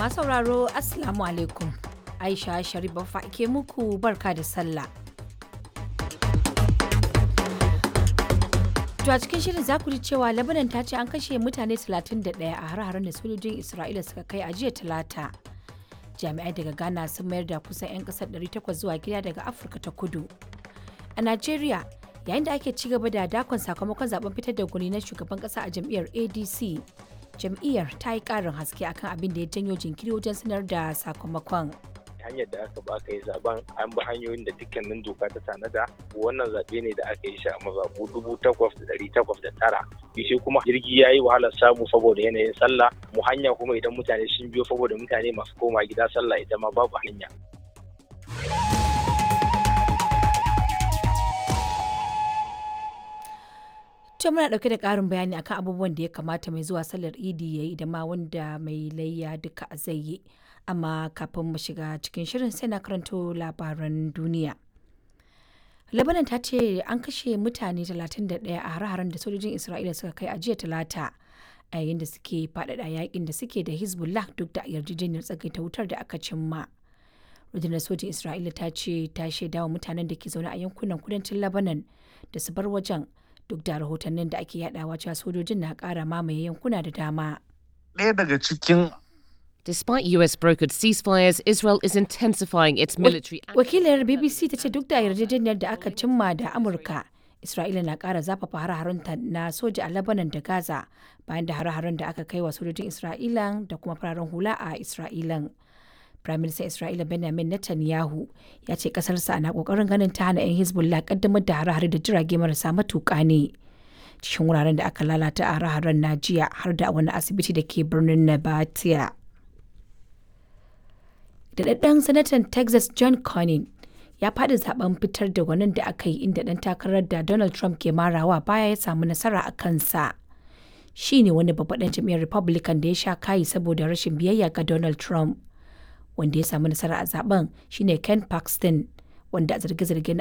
Masu sauraro, Assalamu alaikum. Aisha Sharif Baffa ke muku barka da sallah. To a cikin shirin za ku ji cewa Lebanon ta ce an kashe mutane 31 a har-haren da sojojin Isra'ila suka kai a jiya Talata. Jami'ai daga Ghana sun mayar da kusan 'yan kasar 800 zuwa gida daga Afirka ta Kudu. A Najeriya, yayin da ake ci gaba da dakon sakamakon zaben fitar da gwani na shugaban kasa a jam'iyyar ADC, jam'iyyar ta yi ƙarin haske akan abin da ya janyo jinkiri wajen sanar da sakamakon. Hanyar da aka ba aka yi zaben, an bi hanyoyin da dukkanin doka ta tanada. Wannan zaɓe ne da aka yi shi a mazaɓu 8,809. Shi kuma jirgi ya yi wahalar samu saboda yanayin sallah mu hanya, kuma idan mutane sun biyo saboda mutane masu koma gida sallah, ita ma babu hanya. To muna ɗauke da ƙarin bayani akan abubuwan da ya kamata mai zuwa sallar Idi ya yi da ma wanda mai layya duka zai yi. Amma kafin mu shiga cikin shirin, sai na karanto labaran duniya. Lebanon ta ce an kashe mutane 31 a hare-haren da sojojin Isra'ila suka kai a jiya Talata, a yayin da suke faɗaɗa yakin da suke da Hezbollah duk da yarjejeniyar tsagaita wutar da aka cimma. Rundunar sojin Isra'ila ta ce ta shaidawa mutanen da ke zaune a yankunan kudancin Lebanon da su bar wajen, duk da rahotannin da ake yadawa cewa sojojin na kara mamaye yankuna da dama. Ɗaya daga cikin Despite US brokered ceasefires, Israel is intensifying its military. Wakilar BBC ta ce duk da yarjejeniyar da aka cimma da Amurka, Isra'ila na kara zafafa hare-harenta na soja a Lebanon da Gaza bayan da hare-haren da aka kai wa sojojin Isra'ila da kuma fararen hula a Isra'ilan. Firaministan Isra'ila Benjamin Netanyahu ya ce kasarsa na kokarin ganin ta hana 'yan Hezbollah kaddamar da hare-hare da jirage marasa matuƙa ne. Cikin wuraren da aka lalata a hare-haren na jiya har da wani asibiti da ke birnin Nabatia. Daɗaɗɗen sanatan Texas John Cornyn ya faɗi zaben fitar da gwanin da aka yi, inda ɗan takarar da Donald Trump ke marawa baya ya samu nasara a kansa. Shi ne wani babban ɗan jam'iyyar Republican da ya sha kayi saboda rashin biyayya ga Donald Trump. Wanda ya samu nasara a zaben shine Ken Paxton, wanda a zarge-zarge na